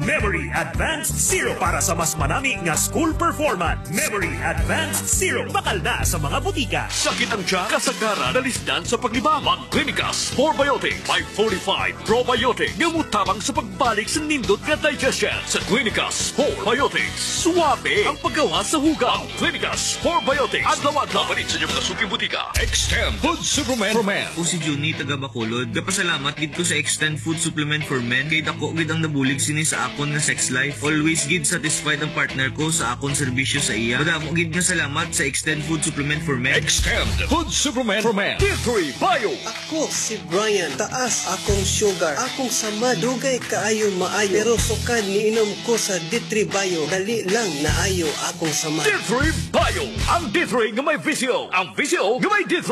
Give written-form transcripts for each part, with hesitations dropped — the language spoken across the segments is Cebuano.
Memory Advanced Syrup para sa mas manami nga school performance. Memory Advanced Syrup. Bakal na sa mga butika. Sakit ang tiyan, kasagaran, nalisdan sa paglibang. Mag-Clinicas 4 Biotic 545 Probiotic nga mutabang sa pagbalik sa nindot nga digestion. Sa Clinicas 4 Biotics, suwabe ang paggawa sa hugaw. Clinicas 4 Biotics. Adlaw-adlaw. Palit sa inyong mga suking butika. Extend Food Supplement for Men. Ako si Juni, taga Bacolod. Gapasalamat gid ko sa Extend Food Supplement for Men kay dako gid ang nabulig sini sa akon nga sex life. Always gid satisfied ang partner ko sa akon serbisyo sa iya. Madamo gid nga salamat sa Extend Food Supplement for Men. Extend Food Supplement for Men. D3 Bio. Ako si Brian. Taas akong sugar. Akong samad. Dugay kaayo maayo. Pero sukad niinom ko sa D3 Bio, dali lang naayo akong samad. D3 Bio. Ang D3 nga may VCO. Ang VCO nga may D3.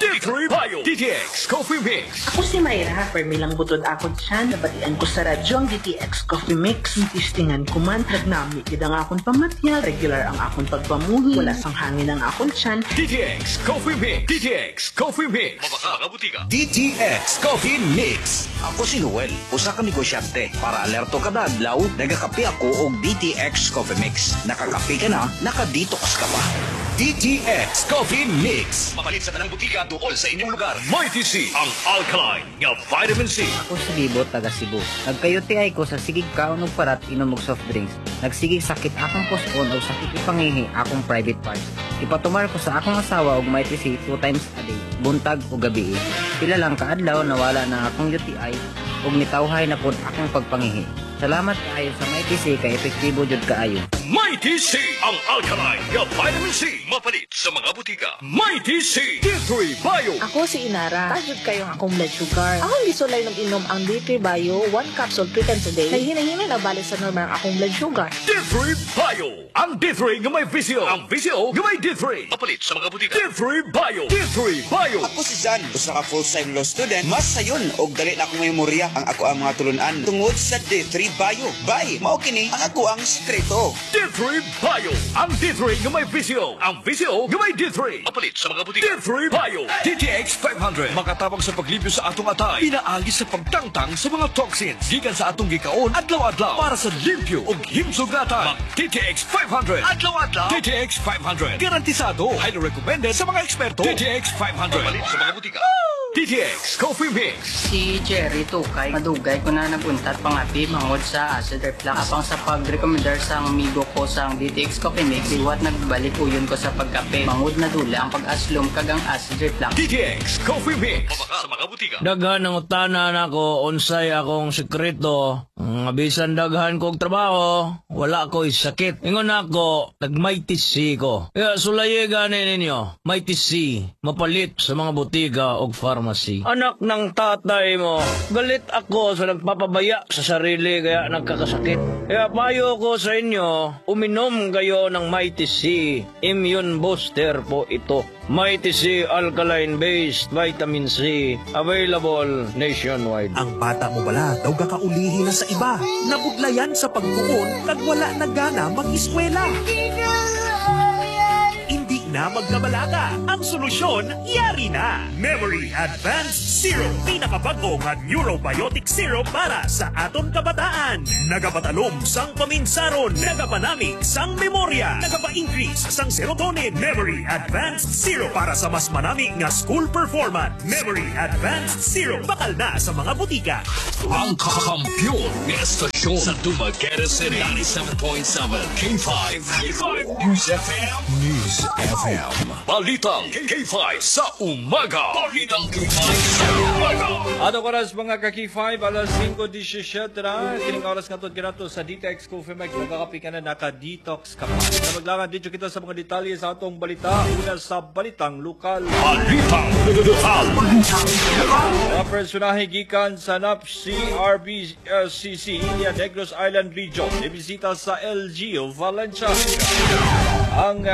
D3 Bio. DTX Coffee Mix. Ako si Mayra, permi lang butod akong tiyan, nabatian ko sa radyo ang DTX Coffee Mix. Tistingan ko man, nagnami gid ang akong pamatya, regular ang akong pagpamuhi, wala sang hangin ang akong tiyan. DTX Coffee Mix. DTX Coffee Mix. Mabaka mga butika. DTX Coffee Mix. Ako si Noel, usa ka negosyante. Para alerto kada adlaw, nagakape ako og DTX Coffee Mix. Nakakape ka na, naka-detox ka pa. DTX Coffee Mix. Mapalit sa tanang butika duol sa inyong lugar. Mighty C, ang alkaline nga vitamin C. Ako si Bibo, taga Cebu. Nagka-UTI ko sa sigig kaon og parat, inom og soft drinks. Nagsigig sakit akong puson og sakit ipangihi akong private parts. Ipatumar ko sa akong asawa og Mighty C two times a day, buntag o gabi. Pila lang kaadlaw, nawala na akong UTI ug nitawhay na pod akong pagpangihi. Salamat kaayo sa Mighty C kay epektibo jud kaayo. Mighty C, ang alkaline nga vitamin C. Mapalit sa mga butika. Mighty C, D3 Bio. Ako si Inara. Taas jud kayo ang akong blood sugar. Akong gisulay ng inom ang D3 Bio, 1 capsule 3 times a day. Kay hinay-hinay na balik sa normal ang akong blood sugar. D3 Bio. Ang D3 nga may VCO. Ang VCO nga may D3. Mapalit sa mga butika. D3 Bio. D3 Bio. Ako si Jan, usa ka full-time law student. Mas sayon og dali na akong memorya ang ako ang mga tulunan tungod sa D3 Bio. Bay, mao kini ang ako ang sikreto. D3 Bio. Ang D3 nga may VCO. Ang VCO nga may D3. Mapalit sa mga butika. D3 Bio. DTX 500. Makatabang sa paglibyo sa atong atay. Pinaagi sa pagtangtang sa mga toxins. Gikan sa atong gikaon adlaw-adlaw. Para sa limpyo ug himsog nga atay. Mag DTX 500. Adlaw-adlaw. DTX 500. Garantisado. Highly recommended sa mga eksperto. DTX 500. Mapalit sa mga butika. DTX Coffee Mix. Si Jerry Tukay, madugay ko na naguntat pangapi mangod sa acid reflux. Apang sa pag-recommendar sa amigo ko sa DTX Coffee Mix, liwat nagbalik uyon ko sa pagkape. Mangod na dula ang pag-aslom kag ang acid reflux. DTX Coffee Mix. Mabaka sa mga butika. Daghan ang utana nako unsay akong sekreto. Nga bisan daghan kog trabaho, wala ko'y sakit. Ingon ako, nag-Mighty C ko. Kaya sulayi gani ninyo, Mighty C, mapalit sa mga butika og pharmacy. Anak ng tatay mo, galit ako sa nagpapabaya sa sarili kaya nagkakasakit. Kaya payo ko sa inyo, uminom kayo ng Mighty C. Immune booster po ito. Mighty C Alkaline Based Vitamin C. Available nationwide. Ang bata mo bala daw kakaulihi na sa iba. Nabudlayan sa pagtuon kag wala na gana mag-eskwela. Hindi na magkabalaka. Ang solusyon, yari na. Memory Advanced Syrup. Pinakabago nga neurobiotic syrup para sa aton kabataan. Nagapatalom sang paminsaron. Nagapanamig sang memorya. Nagapa-increase sang serotonin. Memory Advanced Syrup para sa mas manami nga school performance. Memory Advanced Syrup. Bakal na sa mga butika. Ang kakampiyon nga estasyon sa Dumaguete City. 97.7 K5. K5 News FM. News FM. Balitang K5 sa umaga. Balitang K5 sa umaga. Ato oras, mga ka-K5, alas 5:17 na. Kining oras nga kinato sa DTX Coffee Mix. Nagkakape ka na, naka-detox ka pa. Sa maglangan, dito kita sa mga detalye sa atong balita. Una sa balitang lokal. Balitang lokal. Mga personahe gikan sa NAPCRBCC niya Negros Island Region, ibisita sa LGU Valencia. Ang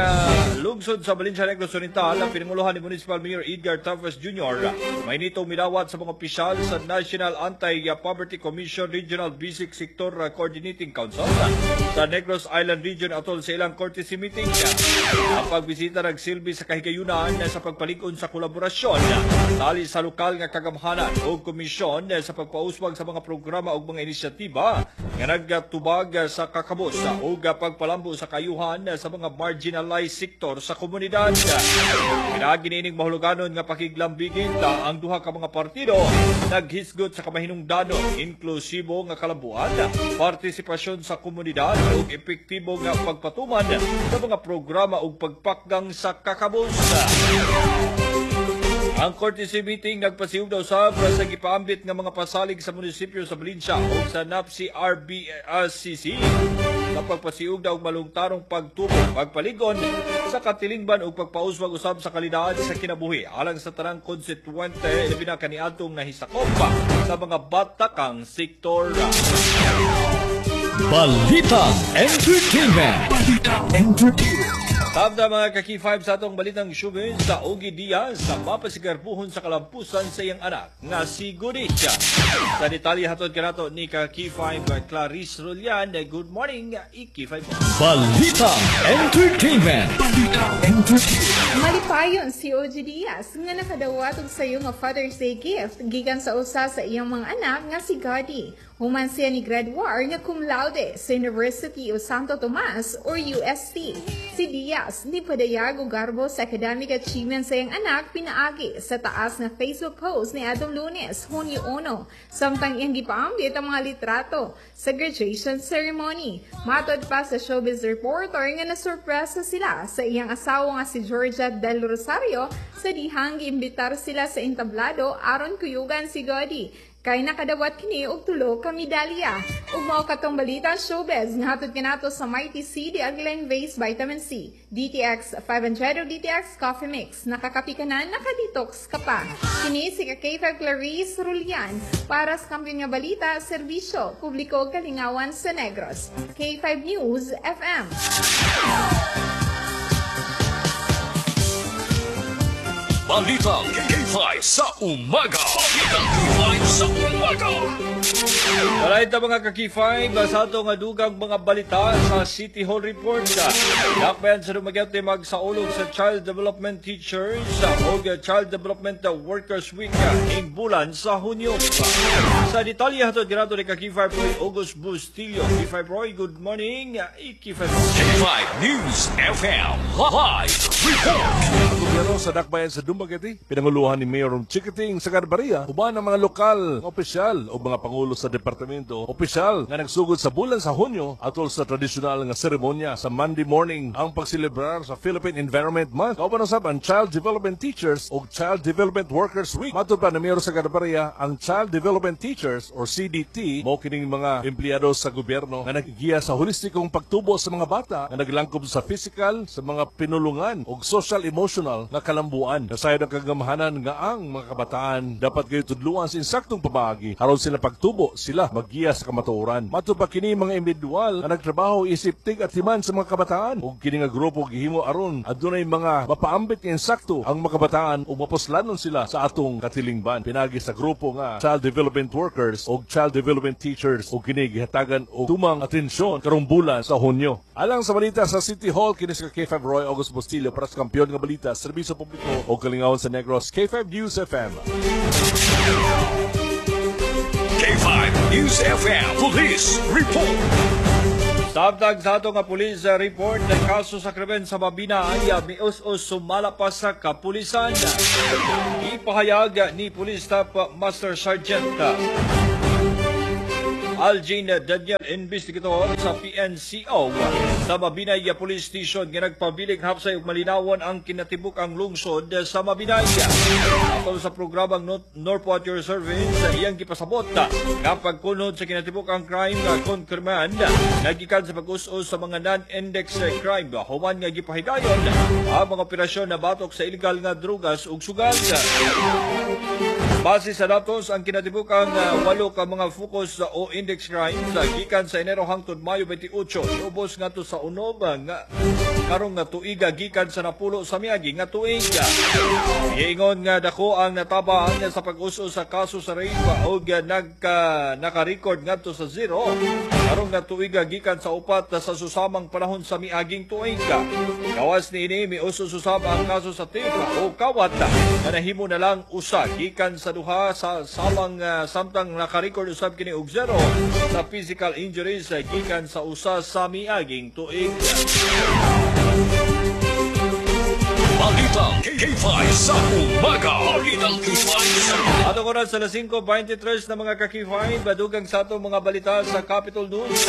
lungsod lungsod sa Valencia, Negros Oriental, ang pinanguluhan ni Municipal Mayor Edgar Tavares Jr. May nitong midawat sa mga opisyal sa National Anti-Poverty Commission Regional Basic Sector Coordinating Council sa Negros Island Region atol sa ilang courtesy meeting. Ang pagbisita nagsilbi sa kahigayunan sa pagpalig-on sa kolaborasyon tali sa lokal nga kagamhanan o komisyon sa pagpauswag sa mga programa ug mga inisyatiba nga nagtubag sa kakabos ug pagpalambo sa kayuhan sa mga marginalized sektor sa komunidad. Pinaagi niining mahuluganon nga pakiglambigit, ang duha ka mga partido naghisgot sa kamahinungdanon, inklusibo nga kalambuan, partisipasyon sa komunidad ug epektibo nga pagpatuman sa mga programa ug pagpakgang sa kakabos. Ang courtesy meeting nagpasiug daw sab sa gipaambit nga mga pasalig sa munisipyo sa Valencia ug sa NAPC RBCC sa pagpasiug daw og malungtarong pagtubo, pagpaligon sa katilingban ug pagpauswag usab sa kalidad sa kinabuhi alang sa tanang konstituente, labi na kaniadtong nahisakop sa mga batakang sektor. Balitang Entertainment. Balitang Entertainment. Tabda, mga ka-K5, sa atong balitang showbiz, sa Ogie Diaz sa mapasigarbuhon sa kalampusan sa iyang anak nga si Goody. Sa detalye, hatod kanato ni ka K5 Clarice Rulian. Good morning, K5. Balitang Entertainment. Balitang Entertainment. Malipayon si Ogie Diaz nga nakadawat og sayo nga Father's Day gift gikan sa usa sa iyang mga anak nga si Goody. Human siya ni graduar nga cum laude sa University of Santo Tomas or UST. Si Diaz ni padayag og garbo sa academic achievement sa iyang anak pinaagi sa taas nga Facebook post ni atong Lunes, Hunyo 1, samtang iyang gipaambit ang mga litrato sa graduation ceremony. Matod pa sa showbiz reporter nga nasurpresa sila sa iyang asawa nga si Georgia Del Rosario sa dihang giimbitar sila sa entablado aron kuyugan si Goody kay nakadawat kini og tulo ka medalya. Ug mao katong balita showbiz nga hatod kanato sa Mighty C The Alkaline Base Vitamin C. DTX 500 o DTX Coffee Mix. Nakakapi ka na, nakadetox ka pa. Kini si K5 Clarice Rulian para sa kampiyon nga balita, serbisyo, publiko ug kalingawan sa Negros. K5 News FM. Balitang K5 sa umaga. Balitang K5 sa umaga. Alright mga ka-K5, sa ato nga dugang mga balita sa City Hall Report. Dakbayan sa Dumaguete magsaulog sa Child Development Teachers o Child Development Workers Week ing bulan sa Hunyo. Sa detalye, hatod kanato ni ka-K5 Roy August Bustillo. K5 Roy, good morning. K5. K5 News FM Live Report. Ang gobyerno sa Dakbayan sa Dumaguete, pinanguluhan ni Mayor Chiquiting Sagarbarria, uban ang mga lokal nga opisyal o mga pangulo sa departamento opisyal nga nagsugod sa bulan sa Hunyo atol sa tradisyonal nga seremonya sa Monday morning ang pagselebrar sa Philippine Environment Month. Kauban usab ang Child Development Teachers o Child Development Workers Week. Matod pa ni Mayor Sagarbarria, ang Child Development Teachers or CDT mao kining mga empleyado sa gobyerno nga naggiya sa holistikong pagtubo sa mga bata nga naglangkob sa physical, sa mga pinulungan ug social emotional nga kalambuan. Nasayod ang kagamhanan nga ang mga kabataan dapat kayo tudluan sa insaktong pamaagi aron sila pagtubo sila maggiya sa kamatuoran. Matod pa kini mga individual nga nagtrabaho isip tig at himan sa mga kabataan ug kini nga grupo gihimo aron adunay mga mapaambit nga insakto ang mga kabataan ug mapuslanon sila sa atong katilingban. Pinagi sa grupo nga Child Development Workers ug Child Development Teachers ug kini gihatagan og tumang atensyon karong bulan sa Hunyo. Alang sa balita sa City Hall, kini si K5 Roy August Bustillo para sa kampiyon nga balita, serbisyo publiko o kalingawan sa Negros, K5 News FM. K5 News FM Police Report. Sabtag sa ato nga police report ng kaso sa krimen sa Mabinay, mius-us sumala pa sa kapulisan. Ipahayag ni Police Staff Master Sergeant Algin Daniel, investigator sa PNCO sa Mabinay Police Station, nga nagpabiling hapsay ug malinawon ang kinatibuk ang lungsod sa Mabinay. Atol sa programang Norpo at Your Service, iyang gipasabot nga pagkunod sa kinatibuk ang crime kon krimen nagikan sa pag-us-us sa mga non-index crime human nga gipahigayon ang mga operasyon na batok sa illegal nga drugas ug sugal. Base sa datos, ang kinatibukang 8 ka mga focus o index crimes gikan sa Enero hangtod Mayo 28 niubos ngadto sa unom nga karong nga tuiga gikan sa 10 sa miagi nga tuig. Giingon nga dako ang natabang sa pag-uso sa kaso sa rape og naka-record ngadto sa 0 karong nga tuiga gikan sa 4 sa susamang panahon sa miaging tuig. Gawas niini, miuso susab ang kaso sa theft o kawat nga nahimo na lang usa gikan sa 2 sa samang samtang naka-record usab kini og 0 sa physical injuries gikan sa usa sa miaging tuig. Balitang K5 sa umaga. Balitang K5 sa umaga. Atong oras sa 5:23 na mga ka-K5, badugang sa atong mga balita sa Capitol News.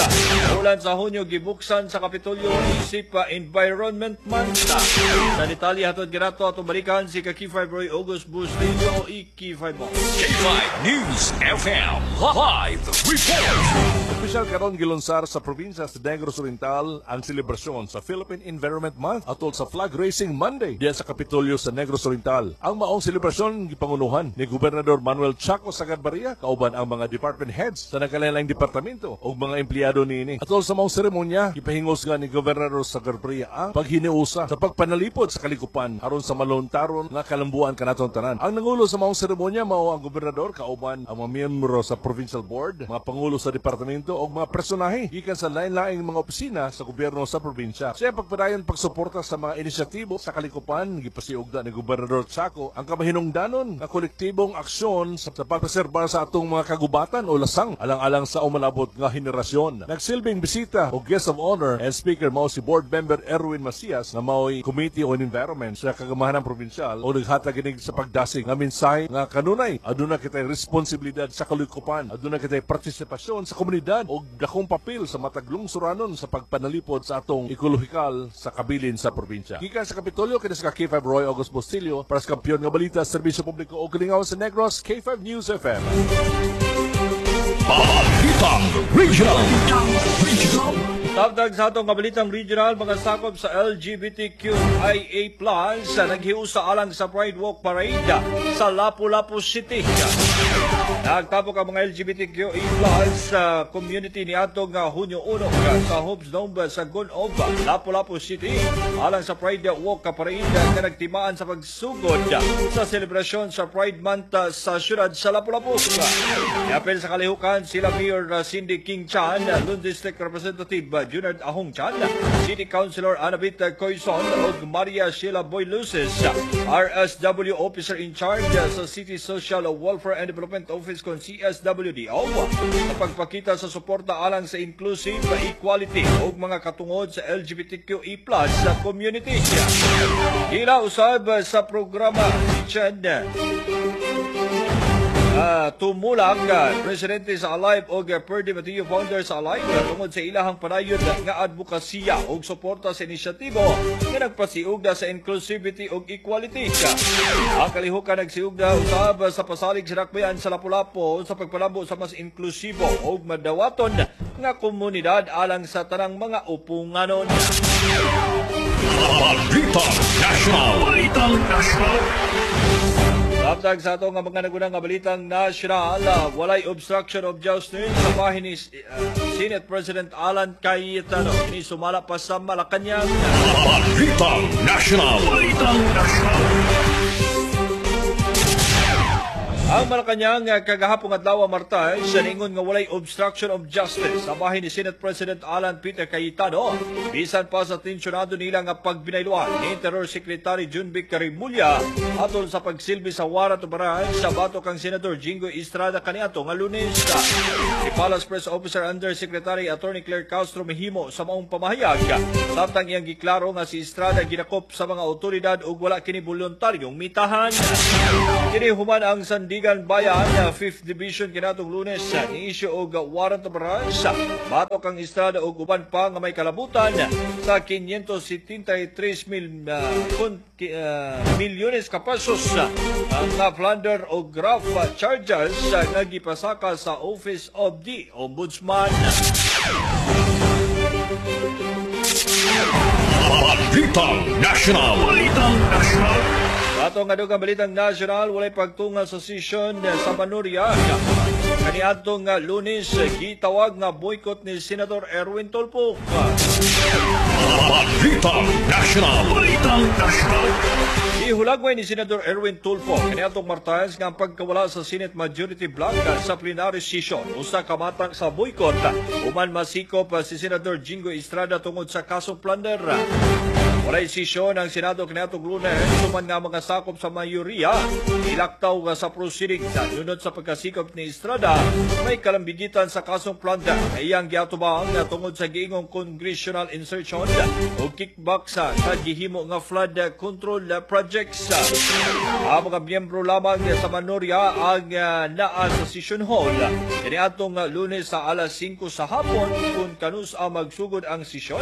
Ulan sa Hunyo, gibuksan sa Kapitolyo isip Environment Month. Sa detalye hatod girato atong balikan si ka-K5 Roy August Bustillo, i-K5 mo. K5 News FM Live Report. Opisyal karon gilunsar sa probinsya sa Negros Oriental ang selebrasyon sa Philippine Environment Month atol sa Flag Raising Monday diyan sa Kapitolyo sa Negros Oriental. Ang maong selebrasyon gipangunuhan ni Gobernador Manuel Chaco Sagarbarria kauban ang mga department heads sa nagkalain-laing departamento ug mga empleyado niini. Atol sa maong seremonya, gipahingos nga ni Gobernador Sagarbarria ang paghiniusa sa pagpanalipod sa kalikupan aron sa maluntaron nga kalambuan kanaton tanan. Ang nangulo sa maong seremonya mao ang gobernador kauban ang mga miyembro sa provincial board, mga pangulo sa departamento ug mga personahe gikan sa lain-laing mga opisina sa gobyerno sa probinsya. Sa pagpadayon pagsuporta sa mga inisyatibo sa kalikupan, gipasiugda ni Gobernador Chaco ang kamahinungdanon nga kolektibong aksyon sa pagpreserba sa atong mga kagubatan o lasang alang-alang sa umalabot nga henerasyon. Nagsilbing bisita o guest of honor and speaker mao si board member Erwin Macias na mao'y Committee on Environment sa Kagamahanang Provincial o naghatag inig sa pagdasig nga mensahe nga kanunay aduna kitay responsibilidad sa kalikupan, aduna kitay partisipasyon sa komunidad o dakong papel sa matag lungsuranon sa pagpanalipod sa atong ekolohikal sa kabilin sa probinsya. Gikan sa Kapitolyo kini sa K5 Roy August Bustillo para sa kampiyon nga balita, serbisyo publiko o kalingawan sa Negros, K5 News FM. Balitang Regional. Regional. Tabdag sa atong kabalitang regional, mga sakop sa LGBTQIA+, naghiusa alang sa Pride Walk Parade sa Lapu-Lapu City. Nagtapok ang mga LGBTQIA+ sa community ni atong Hunyo 1 sa Hopes Dome sa Gun-Ob, Lapu-Lapu City alang sa Pride Walk Parade nga nagtimaan sa pagsugod sa selebrasyon sa Pride Month sa syudad sa Lapu-Lapu. Niapil sa kalihukan sila Mayor Cindy King Chan, Loon District Representative Junard Ahong Chan, City Councilor Anabit Coyson ug Maria Sheila Boy Luces, RSW Officer in Charge sa City Social Welfare and Development Office kon CSWDO, sa pagpakita sa suporta alang sa inclusive equality ug mga katungod sa LGBTQI+ sa community. Gila usab sa programa si Chen tumulak presidente sa Alive og Perdi Mateo founder sa Alive tungod sa ilahang padayon nga advokasya og suporta sa inisyatibo nga nagpasiugda sa inclusivity og equality. Ang kalihukan nagsiugda usab sa pasalig sa dakbayan sa Lapu-Lapu sa pagpalambo sa mas inklusibo og madawaton nga komunidad alang sa tanang mga upunganon. Balitang National. Balitang National. Tabdag sa atong mga nagunang nga balitang national, walay obstruction of justice sa bahin ni Senate President Alan Cayetano. Kini sumala pa sa Malacañang. Balitang National. Balitang National. Ang Malacañang kagahapong adlaw Martes ningon nga walay obstruction of justice sa bahin ni Senate President Alan Peter Cayetano bisan pa sa tensyonado nila nga pagbinayluan ni Interior Secretary Junvic Remulla atol sa pagsilbi sa warrant of arrest sa batok kang Senator Jinggoy Estrada kaniadto nga Lunes. Si Palace Press Officer Undersecretary Attorney Claire Castro mihimo sa maong pamahayag samtang iyang giklaro nga si Estrada ginakop sa mga otoridad ug wala kini voluntaryong mitahan. Kini human ang Sandigan Bayan 5th Division kinatong Lunes ni issue og warrant of arrest batok ang Estrada og uban pa nga may kalabutan sa 573 milyones ka pesos nga plunder o graft charges nga gipasaka sa Office of the Ombudsman. Balitang National. Balitang National. Ato nga dugang balitang nasyonal, walay pagtunga sa session sa Manuria. Kaniadtong nga Lunes, gitawag nga boycott ni Senator Erwin Tulfo. Balita National. Balita National. Gihulagway ni Senator Erwin Tulfo kaniadtong Martes nga ang pagkawala sa Senate Majority Bloc sa plenary session usa ka matang sa boycott human masikop si Senator Jinggoy Estrada tungod sa kasong plunder. Walay sesyon ang Senado kaniadtong Lunes human nga mga sakop sa mayoriya ilaktaw nga sa proceedings nunot sa pagkasikop ni Estrada may kalambigitan sa kasong plunder na iyang giatubang tungod sa giingong congressional insertion o kickback sa kagihimo nga flood control projects. Ang mga miyembro lamang sa Manoria ang naa sa session hall kaniadtong Lunes sa alas 5 sa hapon kung kanus ang magsugod ang sesyon.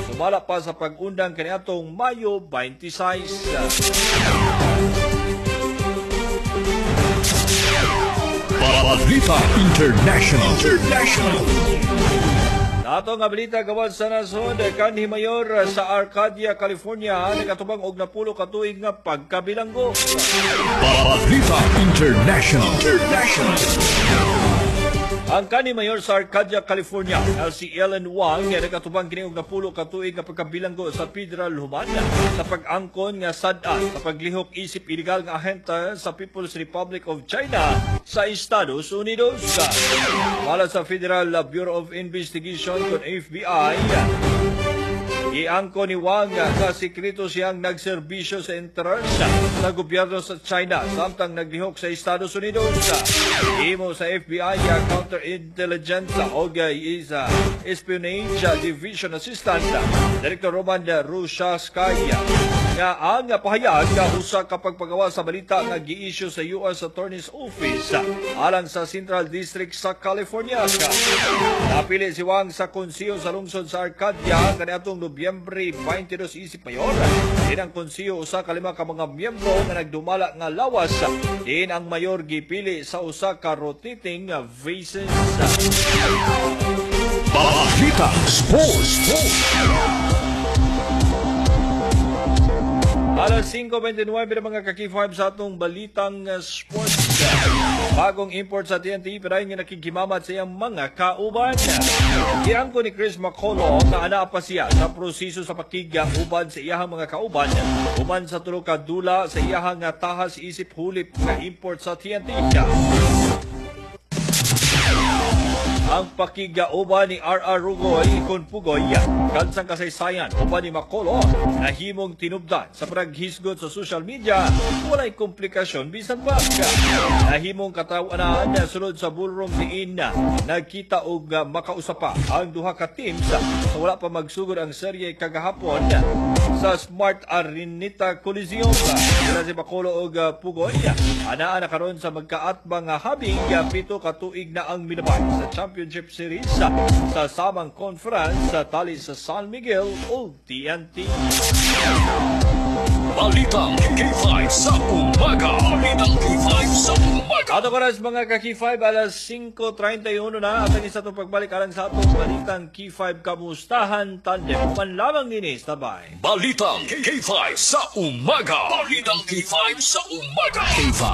Sumala pa sa pag-undang kaniadtong Mayo 26. Balita International. International. Nato nga balita gawas sa nasod, kanhi mayor sa Arcadia, California, nakatubang og 10 ka tuig nga pagkabilanggo. Balita International. International. Ang kanhi mayor sa Arcadia, California, na si Ellen Wang, nakatubang kini og 10 ka tuig nga pagkabilanggo sa federal human sa pag-angkon nga sad-an sa paglihok isip illegal nga ahente sa People's Republic of China sa Estados Unidos. Mala sa Federal Bureau of Investigation kon FBI, iangko ni Wang nga sikreto siyang nagserbisyo sa interes sa gobyerno sa China samtang naglihok sa Estados Unidos. Imo sa FBI Counterintelligence og is Espionage Division Assistant Director Roman Rushaskaya nga ang pahayag nga usa ka pagpagawa sa balita nga gi-issue sa US Attorney's Office alang sa Central District sa California. Napili si Wang sa konseho sa lungsod sa Arcadia kaniadtong Nobyembre 22 isip mayor. Din ang konseho usa ka 5 ka mga miyembro nga nagdumala nga lawas. Din ang mayor gipili sa usa ka rotating basis. Balita Sports. Alas 5:29 na mga ka-K5 sa atong balitang sports. Bagong import sa TNT, pirayon nga nakikimamat sa iyang mga kauban. Giangko ni Chris McCullough nga anaa pa siya sa proseso sa pakigauban sa iyahang mga kauban. Human sa tulo ka dula sa iyahang tahas isip hulip nga import sa TNT. Ang pakigauban ni R.R. Rugoy kon Pugoy kansang kasaysayan uban ni McCullough nahimong tinubdan sa paghisgot sa social media, walay komplikasyon bisan pa. Nahimong kataw-anan sulod sa ballroom diin nagkita og makausap pa ang duha ka teams sa wala pa magsugod ang serye kagahapon sa Smart Araneta Coliseum. Sila si McCullough og Pugoy anaa na karon sa magkaatbang habig 7 ka tuig na ang minabay sa Championship Series sa Samang Conference sa tali sa San Miguel o TNT. Balitang K5 sa umaga. Balitang K5 sa umaga. Ato oras mga ka-K5, alas 5:31 na at ang isa itong pagbalik alang sa atong Balitang K5 Kamustahan Tandem. Uman lamang nini, sabay. Balitang K5 sa umaga. Balitang K5 sa umaga. K5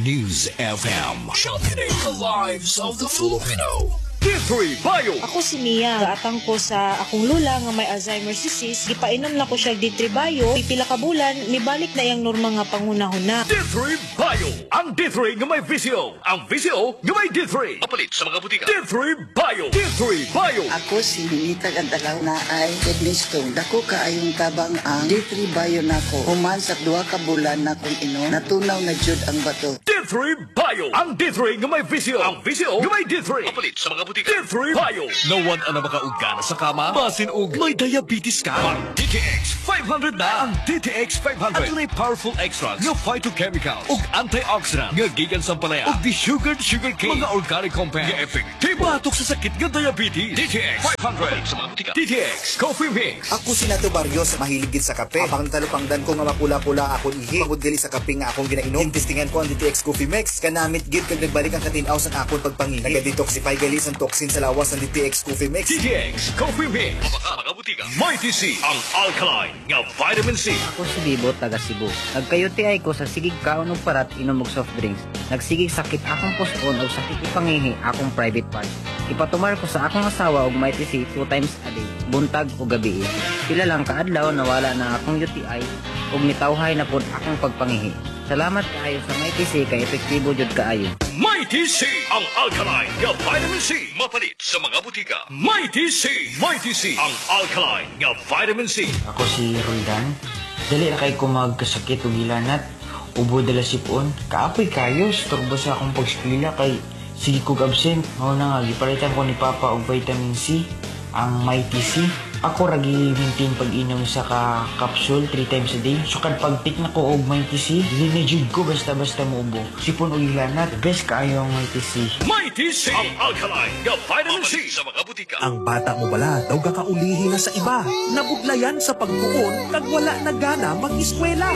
News FM. Championing the lives of the Filipino. D3 Bio. Ako si Mia. Gaatang ko sa akong lula nga may Alzheimer's disease. Gipainom na ko siya D3 Bio. Pipila ka bulan, mibalik na iyang normal nga panghunahuna. D3 Bio. Ang D3 nga may VCO. Ang VCO nga may D3. Apalit sa mga butika. D3 Bio. D3 Bio. Ako si Ninita Gantalaw na ay kidney stone. Dako kaayong tabang ang D3 Bio nako. Human sa 2 ka bulan na kong inom, natunaw na jud ang bato. D3 Bio. Ang D3 nga may VCO. Ang VCO nga may D3. Apalit sa mga butika. D3 Bio. Nawan ang makaugana sa kama, basin og may diabetes ka. Ang DTX 500 na. Ang DTX 500. Adunay powerful extracts nga phytochemicals ug antioxidant nga gikan sa palaya ug desugared sugar cane, mga organic compound nga epektibo batok sa sakit nga diabetes. DTX 500 sa mga butika. DTX Coffee Mix. Ako si Nato Barrios, mahilig gid sa kape. Apang talupangdan ko nga mapula-pula akon ihi. Pagod gali sa kape nga akong ginainom. Tintistingan ko ang DTX Coffee Mix. Kanamit gid kag nagbalik ang katinaw sa akon pagpangihi. Naga-detoxify gali sa toxin sa lawas ng DTX Coffee Mix. DTX Coffee Mix. Mga butika. Mighty C, ang alkaline nga vitamin C. Ako si Bibo, taga Cebu. Nagka-UTI ko sa sigig kaon og parat, inom og soft drinks. Nagsigig sakit akong puson og sakit ipangihi akong private parts. Ipatumar ko sa akong asawa og Mighty C two times a day, buntag o gabi. Pila lang kaadlaw nawala na akong UTI ug nitawhay na pod akong pagpangihi. Salamat kaayo sa Mighty C kay epektibo jud kaayo. Mighty C, ang alkaline nga vitamin C. Mapalit sa mga butika. Mighty C, Mighty C, ang alkaline nga vitamin C. Ako si Roldan. Dali ra kay ko magkasakit og hilanat. Ubo dala sipon. Kaapoy kayo, storbo sa akong pagskwela kay sige kog absent. Mao na nga gipalitan ko ni Papa og vitamin C, ang Mighty C. Ako ra gi-maintain pag-inom sa ka capsule 3 times a day. Sukad pag-take na ko og Mighty C, dili na jud ko basta-basta muubo. Sipon og hilanat, best kaayo ang Mighty C. Mighty C, ang alkaline nga vitamin C sa mga butika. Ang bata mo bala daw gakaulihi na sa iba. Nabudlayan sa pagtuon kag wala na gana mag-eskwela.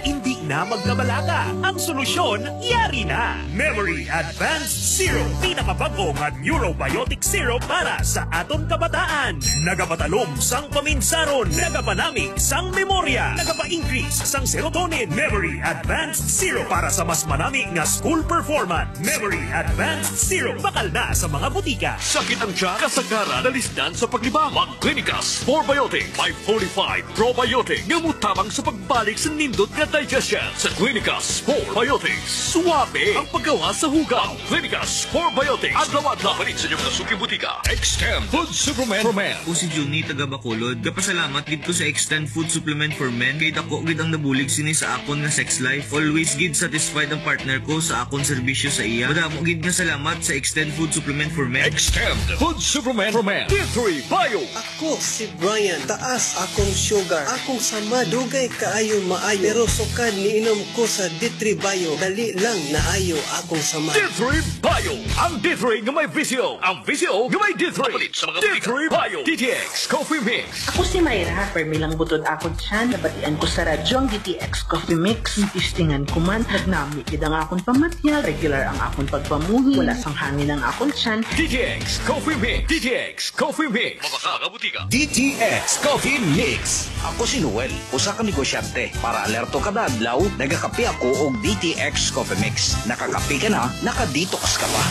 Hindi na magkabalaka. Ang solusyon, yari na. Memory Advanced Syrup. Pinakabago nga neurobiotic syrup para sa aton kabataan. Nagapatalom sang paminsaron. Nagapanami sang memorya. Nagapa-increase sang serotonin. Memory Advanced Syrup para sa mas manami nga school performance. Memory Advanced Syrup. Bakal na sa mga butika. Sakit ang tiyan, kasagaran, nalisdan sa paglibang. Mag-Clinicas 4Biotic, 545 Probiotic. Nga mutabang sa pagbalik sa nindot nga digestion. Sa Clinicas 4Biotics, suwabe ang paggawa sa hugaw. Clinicas 4Biotics, adlaw-adlaw. Palit sa inyong mga suking butika. Extend Food Supplement for Men. Ako si Juni taga Bacolod. Gapasalamat gid ko sa Extend Food Supplement for Men kay dako gid ang nabulig sini sa akon nga sex life. Always gid satisfied ang partner ko sa akon serbisyo sa iya. Madamo gid nga salamat sa Extend Food Supplement for Men. Extend Food Supplement for Men. D3 Bio. Ako si Brian, taas akong sugar. Akong sama dugay kaayo maayo. Pero sukad niinom ko sa D3 Bio, dali lang naayo akong sama. D3 Bio. Ang D3 nga may VCO. Ang VCO nga may D3. Palit sa mga D3 Bio. DTX Coffee Mix. Ako si Mayra, permilang butod akong tiyan, nabatian ko sa radyo ang DTX Coffee Mix. Tistingan ko man, nagnami gid ang akong pamatyag, regular ang akong pagpamuhi, wala sang hangin ang akong tiyan. DTX Coffee Mix. DTX Coffee Mix. Mabaka butika. DTX Coffee Mix. Ako si Noel, usa ka negosyante. Para alerto kada adlaw, nagakape ako og DTX Coffee Mix. Nakakape ka na, naka-detox ka pa.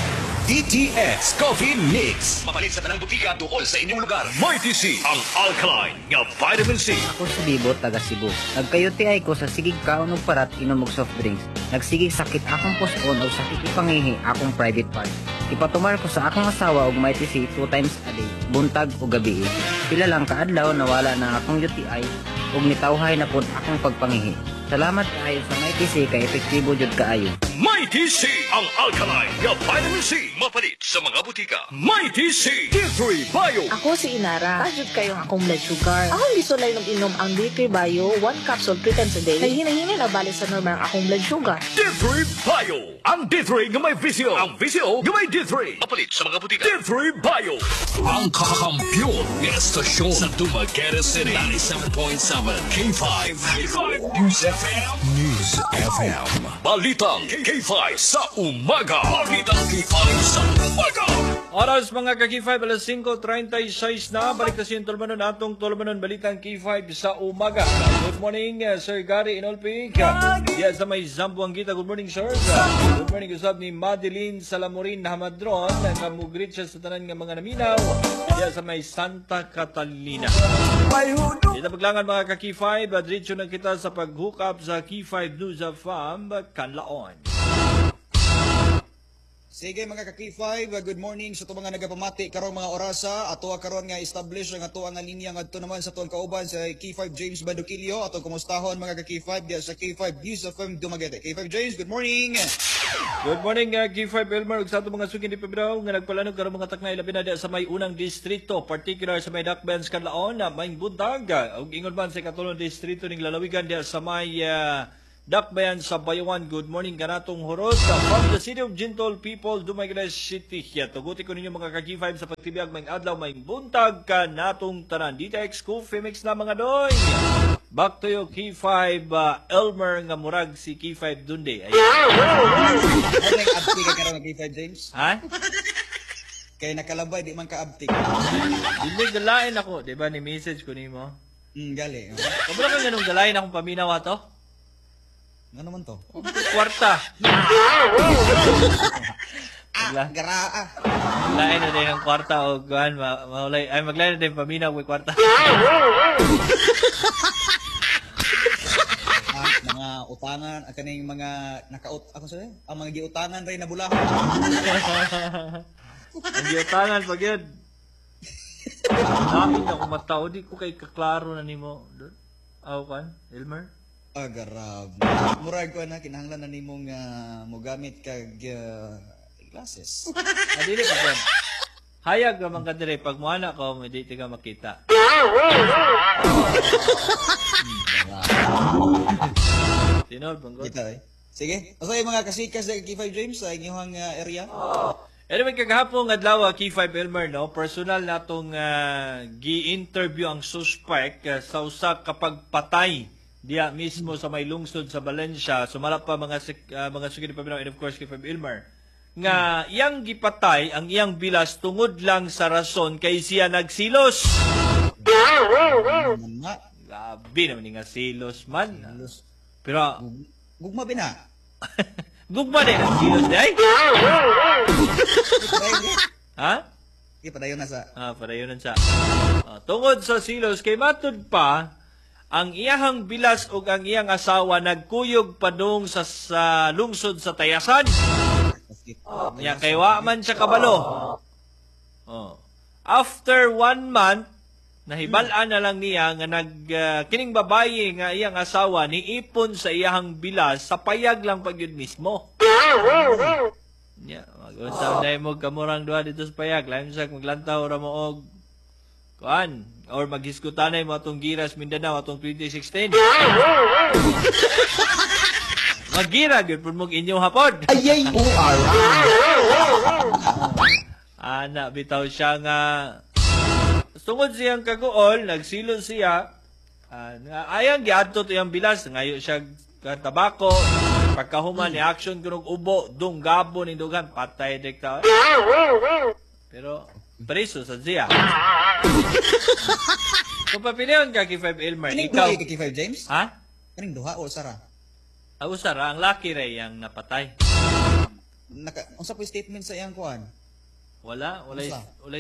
DTX Coffee Mix. Mapalit sa tanang butika duol sa inyong lugar. Mighty C, ang alkaline nga vitamin C. Ako si Bibo, taga Cebu. Nagka-UTI ko sa sigig kaon og parat, inom og soft drinks. Nagsigig sakit akong puson og sakit ipangihi akong private parts. Ipatumar ko sa akong asawa og Mighty C two times a day, buntag o gabi. Pila lang kaadlaw nawala na akong UTI ug nitawhay na pod akong pagpangihi. Salamat kaayo sa Mighty C kay epektibo jud kaayo. Mighty C, ang alkaline nga vitamin C. Mapalit sa mga butika. Mighty C, D3 Bio. Ako si Inara. Taas jud kayo ang akong blood sugar. Akong gisulay ng inom ang D3 Bio, 1 capsule 3 times a day. Naghinay-hinay na balik sa normal ang akong blood sugar. D3 Bio. Ang D3 nga may VCO. Ang VCO nga may D3. Mapalit sa mga butika. D3 Bio. Ang kakampiyon nga estasyon sa Dumaguete City. 97.7 K5. K5 News FM. News FM. Balitang K5 sa umaga. Balitang K5 sa umaga. Oras mga ka-K5, alas 5:36 na. Balik na siyang tulumanon atong tulumanon Balitang K5 sa umaga. Good morning, Sir Gary Inolpig. Diyan sa may Zamboanguita. Good morning, sir. Good morning, usab ni Madeline Salamorin Hamadron. Nga mugrit siya sa tanan nga mga naminaw. Diyan sa may Santa Catalina. Dito paglangan mga ka-K5, diretso na kita sa pag-hook up sa K5 News FM, Kanlaon. Sige mga ka-K5, good morning sa itong mga nagapamati karong mga orasa. Ato karon nga establish ang ato nga linya ngadto naman sa tuang kauban sa K5 James Banduquillo. Atong kumustahon mga ka-K5 diya sa K5 News FM Dumaguete. K5 James, good morning. Good morning, K5 Elmer ug sa atong mga suki ni Pebro nga nagpalanog karong mga taknay labi na diya sa may unang distrito, particular sa may Dakbens Kanlaon, may buntag ug ingon man sa ikatulong distrito ning lalawigan diya sa may Dakbayan sa Bayawan. Good morning kanatong hurot from the city of gentle people, Dumaguete City. Tuguti ko ninyo mga ka-K5 sa pagtibiyag may adlaw may buntag kanatong tanan. DTX Coffee Mix na mga doy. Back to you, K5 Elmer nga murag si K5 Dunde. Ay. Ano yung abti ka karon K5 James? Ha? Kay nakalabay di man ka abti. Dili galain ako, di ba ni message ko nimo? Gali. Kabalo ka ganung galain akong paminaw ato? Ano man to? Kwarta. Garaa. Lain na din ang kwarta o kuan maulay ay maglain na din paminaw may kwarta. Mga utangan, ang kaning mga nakaut ako sa ang mga giutangan ray na bulahan. Ang giutangan pag yun. Lain ako matao, di ko kay kaklaro na nimo. Aw kan, Elmer? Ah, garab. Murag ko na kinahanglan na nimo nga mogamit kag glasses. Dili pa yan. Hayag ra man ka dire pag moana ko, hindi ka makita. Tinod, banggot. Kita eh. Sige. Asa yung mga kasikas sa K5 James sa inyong area? Anyway, kagahapon adlaw K5 Elmer, no, personal natong gi-interview ang suspect sa usa ka pagpatay diya mismo sa may lungsod sa Valencia. Sumala pa mga mga sugid paminaw and of course K5 Elmer nga iyang gipatay ang iyang bilas tungod lang sa rason kay siya nagsilos. Grabe naman ni nga silos man. Pero gugma bina. Gugma din ang silos di ay. Ha? Di padayon na sa. Ah, padayon na sa. Tungod sa silos kay matud pa ang iyahang bilas ug ang iyang asawa nagkuyog padung sa lungsod sa Tayasan. Nya kay wa man siya kabalo. Oh. After 1 month, nahibal-an na lang niya nga kining babaye nga iyang asawa niipon sa iyahang bilas sa payag lang pag yun mismo. Nya, mag-unsa na mo kamurang duha dito sa payag, lain sa maglantaw ra mo og kuan or maghisgutanay mo atong Giras Mindanao atong 2016. Magira gyud pud mong inyo hapon. Ayay, Ana bitaw siya nga tungod siyang kaguol, nagsilon siya. Ayang giadto to iyang bilas, ngayo siya tabako. Pagkahuman ni action kunog ubo, dung gabo ning dugan, patay dikta. Pero preso sa siya. Kung papilion ka K5 Elmer, Kaning ikaw duha kay K5 James? Ha? Kaning duha o sara? Usara, ang laki ray ang napatay. Unsa po statement sa iyang kuan? Wala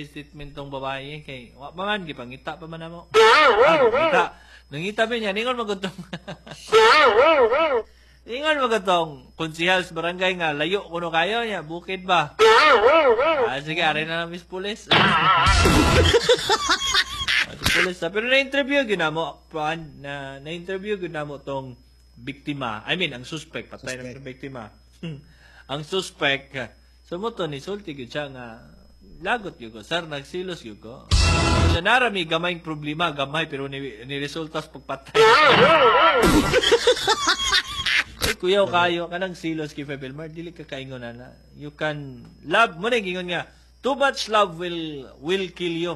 statement tong babae kay wa pa man gipangita pa man namo. Nangita. Nangita ba niya ningon magutong. Ningon magutong konsehal sa barangay nga layo kuno kayo niya bukid ba. Sige, ari na lang mis pulis. Pulis pero na-interview gyud namo na na-interview gyud namo tong biktima. I mean, ang suspect, patay na biktima. Ang suspect, sumuto ni sulti gyud siya nga lagot gyud ko, sir, nagsilos gyud ko. Siya narami gamayng problema, gamay pero ni resulta sa pagpatay. Ay, kuyaw kayo kanang silos kay Febelmar, dili ka kaingon na. You can love mo na gingon nga, too much love will kill you.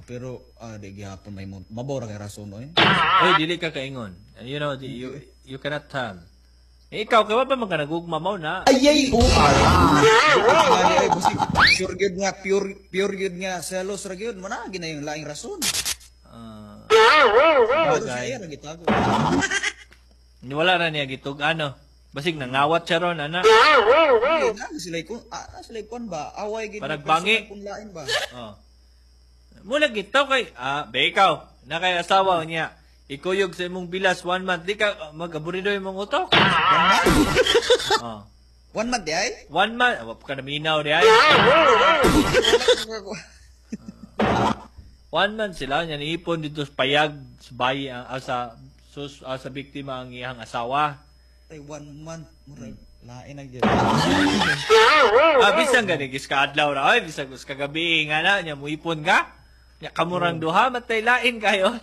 Pero di gihapon may mabora kay rason oy. Oy, dili ka kaingon. You know, you cannot tell. Eh, ikaw, kaya ba man ka nagugma mo na? Ayay, pure gyud nga, pure gyud nga selos ra gyud mo na gina yung laing rason. Bagay. Wala ra niya gitug ano. Basig nangawat siya ron ana. Sila sila kon ba? Away gid. Parang bangi. Kung lain ba? Oh. Mula gitaw kay be ikaw na kay asawa niya. Ikuyog sa imong bilas 1 month, di ka mag-aburido imong utok. 1 month? Oh. 1 month di ay? 1 month, wa ka naminaw di ay. 1 month sila niya niipon dito sa payag sa bayi sa sa biktima ang iyang asawa. Ay 1 month murag lain na gyud. Bisan gani gis kaadlaw ra oy, bisan kus kagabi nga na nya muipon ka. Nya kamurang duha matay lain kayo.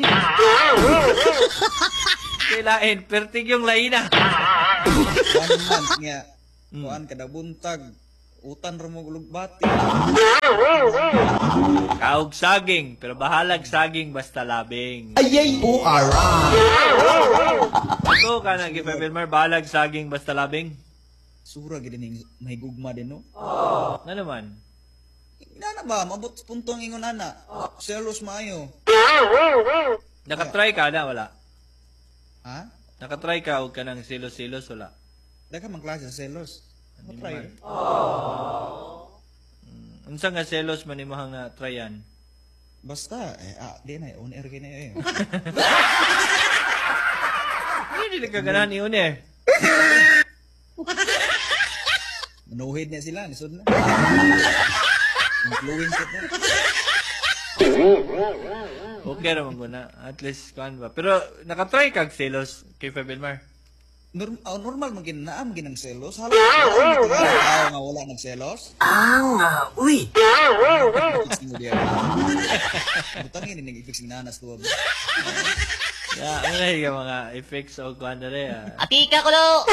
Matay lain, pertig yung laina. 1 month nga kuan kada buntag utan ra mo lugbati. Kaog saging, pero bahalag saging basta labing. Ayay, O-R-I. Ito ka na, K5 Elmer, bahalag saging basta labing. Sura gid ning mahigugma din no. Nga naman. Inana ba maabot sa punto ang ingon ana. Selos maayo. Nakatry ka na, wala? Ha? Nakatry ka og kanang selos-selos, wala? Daghan man klase sa selos. Matry. Unsa nga selos man imong nga tryan? Basta eh, di na on air kay na eh. Hindi ka ganahan i-on air. Manuhid na sila, nisod na. Influence na. Okay ra man guna. At least kuan ba. Pero nakatry kag selos kay Elmar. Normal man gin naam ginang selos. Halos tao nga wala nagselos. Uy. Fixing mo diya. Butangin ni nag-fixing nanas tuwa. Ya, ano yung mga effects o kuan dere. Ati ka kulo.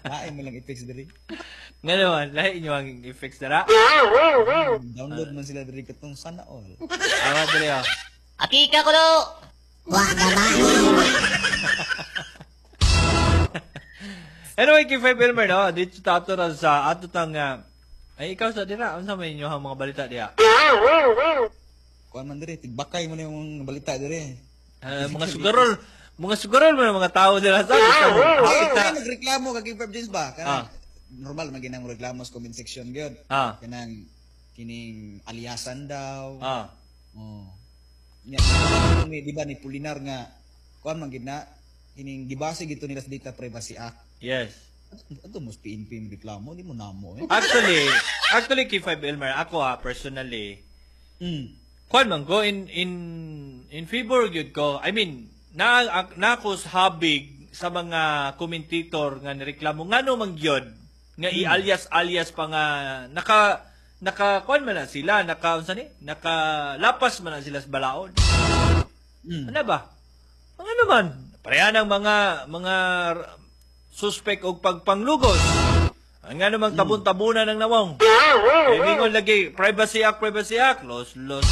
Lain mo lang effects diri. Nga naman, lahi inyo ang effects dara. Download man sila diri katong sana all. Awa dere oh. Ati ka kulo. Wa naman. Anyway, kay K5 Elmer, no, dito tato ra sa ato tang ay ikaw sa dira, unsa may inyo ang mga balita diha? Kuan man diri, tigbakay mo na yung balita diri. Mga sugarol man ang mga tao dira sa Ay, nagreklamo ka kay K5 James ba? Kanang normal man ginang reklamo sa comment section gyud. Kanang kining aliasan daw. Oh. Nya, di ba ni Pulinar nga kuan man gid na kining gibase gito nila sa Data Privacy Act. Yes. Ato mo PNP reklamo, di mo namo eh. Actually K5 Elmer, ako personally. Kuan man ko in favor gyud ko. I mean, na nako habig sa mga commentator nga nireklamo ngano man gyud nga i-alias-alias pa nga naka kuan man na sila, naka unsa ni? Nakalapas man na sila sa balaod. Ano ba? Ano naman? Pareha ng mga suspect og pagpanglugos. Ang nga namang tabon-tabunan ng nawong. Eh, mingon lagi, Privacy Act, Privacy Act. Los, los.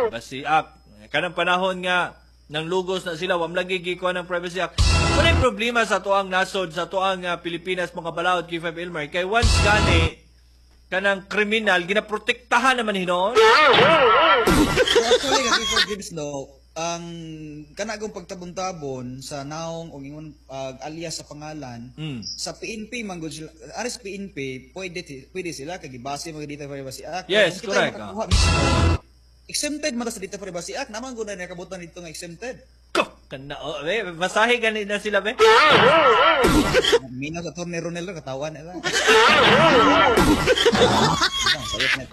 Privacy Act. Kanang panahon nga, nang lugos na sila, wam lagi gikuha ng Privacy Act. Wala'y problema sa tuang nasod, sa tuang Pilipinas, mga balaod, K5 Elmer. Kay once gani, kanang kriminal, ginaprotektahan naman hinoon. Actually, K5 James, no, ang kanagong pagtabon-tabon sa naong o ingon alias sa pangalan sa PNP man gud sila, aris PNP pwede sila kay gibase mga Data Privacy Act. Yes, correct. Exempted man ta sa Data Privacy Act, naman gud na nakabutan dito nga exempted. Kana oh, be, basahi gani na sila be. Minaw sa Attorney Ronel katawan nila. Sayop na.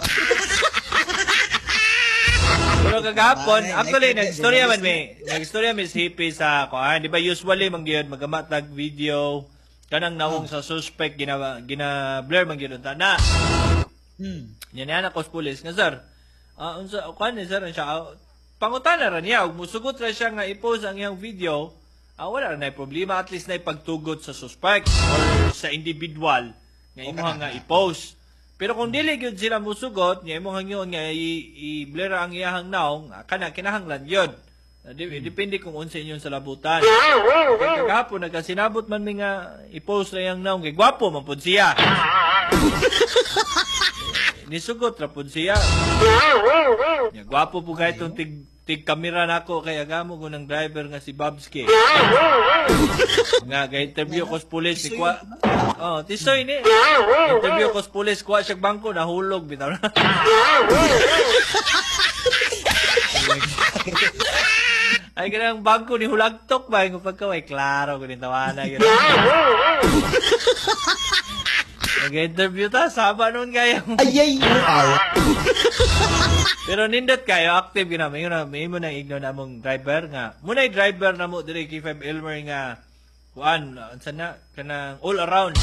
Pero kagahapon, actually, nag-istorya man may, nag-istorya mi si Hippie sa kuan, di ba usually man gyud magamat tag video kanang nawong sa suspect gina blur man gyud unta na. Nya niya na kos pulis nga sir. Unsa kuan ni sir siya pangutana ra niya ug musugot ra siya nga i-post ang iyang video. Wala ra nay problema, at least nay pagtugot sa suspect or sa individual nga imuha nga i-post. Pero kung dili gyud sila musugot, nga imong hangyon nga i-blur ang iyahang naong, kana kinahanglan gyud. Depende kung unsa inyong salabutan. Kay kagahapon nagkasinabot man mi nga i-post ra iyang naong kay gwapo man pud siya. Nisugot ra pud siya. Nya gwapo pud kay tong tig kamera nako kay agamo ko ng driver nga si Babski. Nga kay interview ko sa pulis ni kwa. Oh, tisoy ni. Interview ko sa pulis kuha siya bangko nahulog bitaw na. Ay kanang bangko ni hulagtok ba ingon pagkaway klaro ko ni tawana gyud. Nag-interview ta saba nun kayo. Ayay, R. Pero nindot kayo active gyud na mayo na may mo nang igno na among driver nga. Munay driver na mo diri K5 Elmer nga kuan unsa na kanang all around.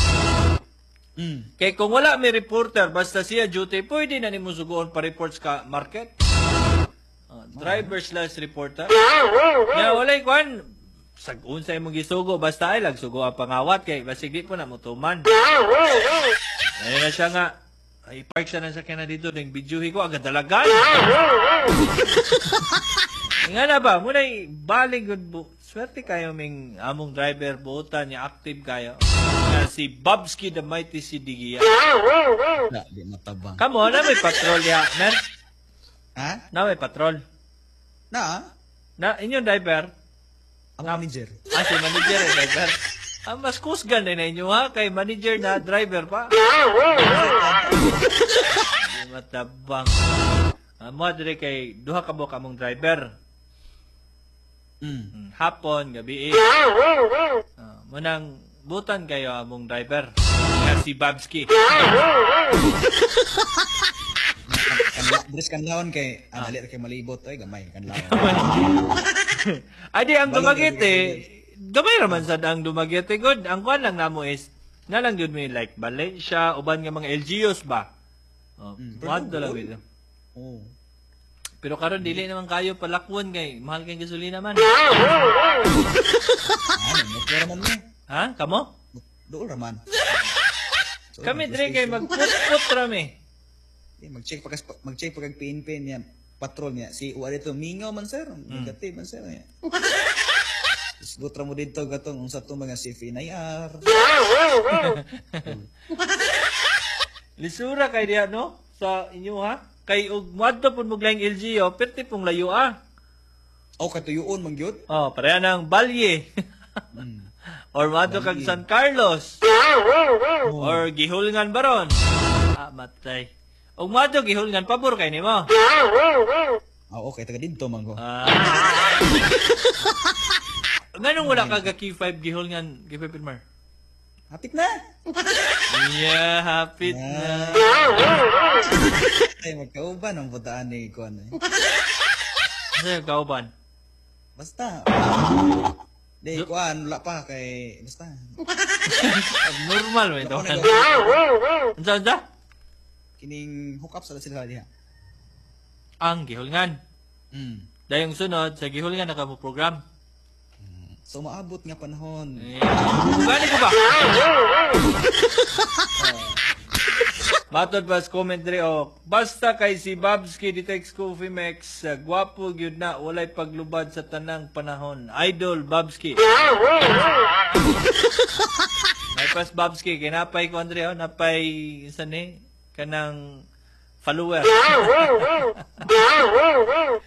Kay kung wala may reporter basta siya duty pwede na nimo sugoon pa reports ka market. Driver slash reporter. Nga walay kuan sag unsa imong gisugo basta ay lagsugo ang pangawat kay basig di po na motuman. Ayun na siya nga Ay, park sa nasa na dito, ding videohi ko, agad dalagan. Nga na ba, muna baling good bu. Swerte kayo ming among driver buotan niya active kayo. Nga si Babski the Mighty si Digia. Na, di matabang. Kamo, na may patrol ya, mer? Ha? Na may patrol. Na? Na, inyong driver? Ang manager. Ah, si manager eh, driver. Ah, mas kusgan na inyo ha, kay manager na driver pa. Di matabang. Ah, mo dire kay duha ka buok among driver. Hapon, gabi eh. Ah, munang butan kayo among driver. Nga si Babski. Dres kanlaon kay dali ra kay malibot oy gamay kanlaon. Adi ang Dumaguete, gamay raman sad ang Dumaguete good. Ang kuan lang namo is na lang gyud may like Valencia uban nga mga LGUs ba. Oh, mm, lang gyud. Oh. Pero karon dili naman kayo palakwon kay mahal kay gasolina man. Ano, man mo. Ha? Kamo? Dool ra man. Kami diri kay magput-put ra mi. Eh, mag-check pa kag PNP niya, patrol niya. Si uwa dito mingaw man sir, magati man sir niya. Isgot ra mo dito gatong unsa to mga CFNIR. Lisura kay diha no sa inyo ha. Kay og moadto pud mo laing LGU, perti pong layo ah. Oh, katuyoon man gyud. Oh, pareha ng Balye. Or moadto kag San Carlos. Or Gihulngan baron. Ah, matay. Og moadto Gihulngan pabor kay nimo. Ah, okay, taga didto man ko. Ah. Nganong wala ka ga K5 Gihulngan, K5 Pilmar? Hapit na. Yeah, hapit na. Ay, magkauban ang butaan ni kuan eh. Ano yung kauban? Basta. Di, kuan, wala pa kay, basta. Abnormal man ito. Unsa, unsa? Kining hook up sa sila diha. Ang Gihulngan. Dayong sunod, sa Gihulngan na ka mo program. So, maabot nga panahon. Gani ko ba? Matod ba sa comment diri oh, basta kay si Babski Ditex Coffee Mix, gwapo gyud na, walay paglubad sa tanang panahon. Idol Babski. May pas Babski kay napay ko Andre oh, napay isa ni kanang follower.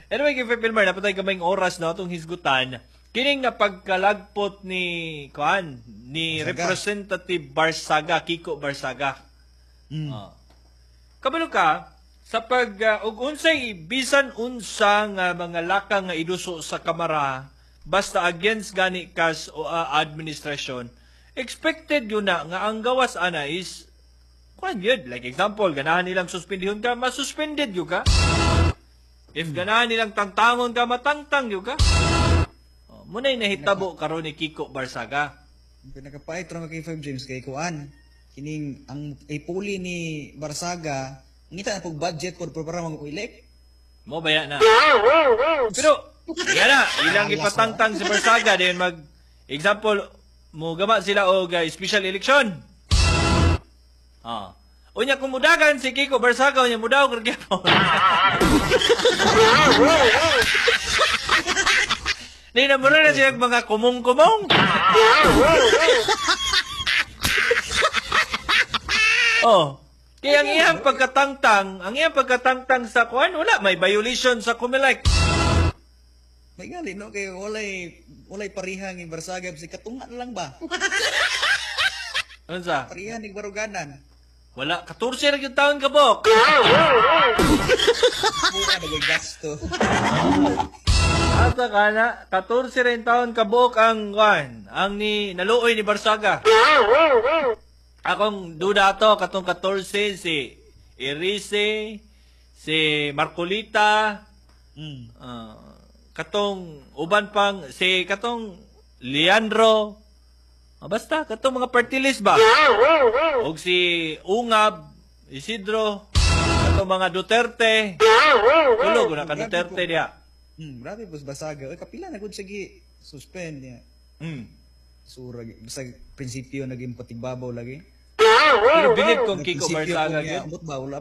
Anyway, kay Filmer, napatay kamayng oras na atong hisgutan. Kining na pagkalagpot ni kuan ni Barsaga. Representative Barsaga, Kiko Barsaga. Kabalo ka sa pag og unsay bisan unsa nga mga lakang nga iduso sa kamara basta against gani kas o administrasyon, expected yun na nga ang gawas ana is kuan yun. Like example, ganahan nilang suspendihon ka, masuspended yun ka. If ganahan nilang tangtangon ka, matangtang yun ka. Oh, muna'y nahitabo karon ni Kiko Barsaga. Pinakapait ra kay K5 James kay kuan. Kining ang ipuli ni Barsaga, ngita na pog budget por para mag-elect. Mo baya na. Pero yan na, ilang ipatangtang si Barsaga then mag example mo gama sila og special election. Ah. Unya kung mudagan si Kiko Barsaga unya mudaw kag gyapon. Di na muna na siya mga kumong-kumong. Oh. Kaya ang iyang pagkatangtang, sa kuan, wala may violation sa Comelec. May gali no kay walay pariha ni Barsaga si katunga na lang ba? Unsa? Pariha ni Baruganan. Wala, 14 ra gyud taon kabok. Buka na gasto. Asa ka na, 14 rin taon kabuok ang kuan, ang ni naluoy ni Barsaga. Akong duda to katong 14 si Irise, si Marcolita, katong uban pang si katong Leandro. Basta katong mga party list ba? Og si Ungab, Isidro, katong mga Duterte. Tulo na ka Duterte diha. Grabe pos Barsaga. Oy kapila na gud sige suspend niya. Sura basta prinsipyo naging patigbabaw lagi. Pero bilib kong Kiko Nagprinsipyo Barzaga ko niya, gyud. Ambot ba, wala.